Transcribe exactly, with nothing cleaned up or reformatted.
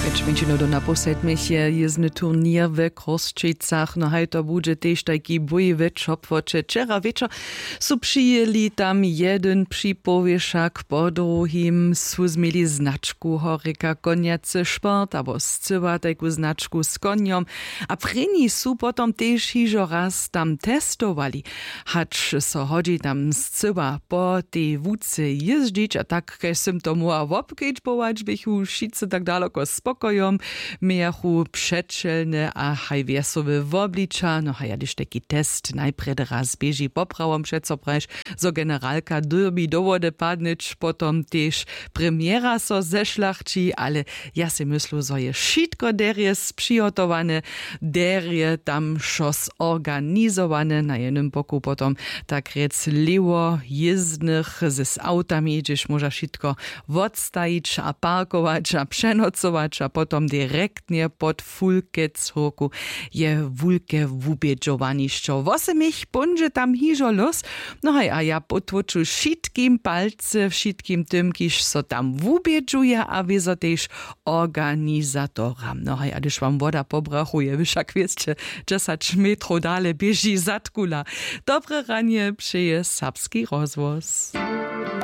Pjeć mjeńšinow do napoł sedmich je jězny turněr we Chrósćicach. No haj, to budźe tež tajki bój we Čopłoće. Wčera wječor su přijěli tam jedyn připowěšak po druhim, su změli značku horjeka konjacy šport abo scyła tajku značku z konjom. A prěni su potom tež hižo raz tam testowali, hač so hodźi tam scyła po tej łuce jězdźić. A tak kaž sym to móhła wobkedźbować, běchu wšitcy tak daloko spokojom, mějachu přećelne a haj wjesołe wobliča. No haj, hdyž tajki test najprjedy raz běži, poprawom přeco prajiš, zo generalka dyrbi do wody padnyć, potom tež premjera so zešlachći. Ale ja sej myslu, zo je wšitko derje přihotowane, derje tam wšo zorganizowane. Na jednym boku potom tak rjec lěwo jězdnych z awtami, hdźež móža wšitko wotstajić a parkować a přenocować a potom direktnje pod fulkec hórku je wulke wubědźowanišćo. Wosebich póńdźe tam hižo lós. No haj, a ja potłóču wšitkim palcy, wšitkim tym, kiž so tam wubědźuje, a wězo tež organizatoram. No haj, a hdyž wam woda po brachu je, wy wšak wěsće, dźesać metrow dale běži zadkula. Dobre ranje přeje Serbski rozhłos.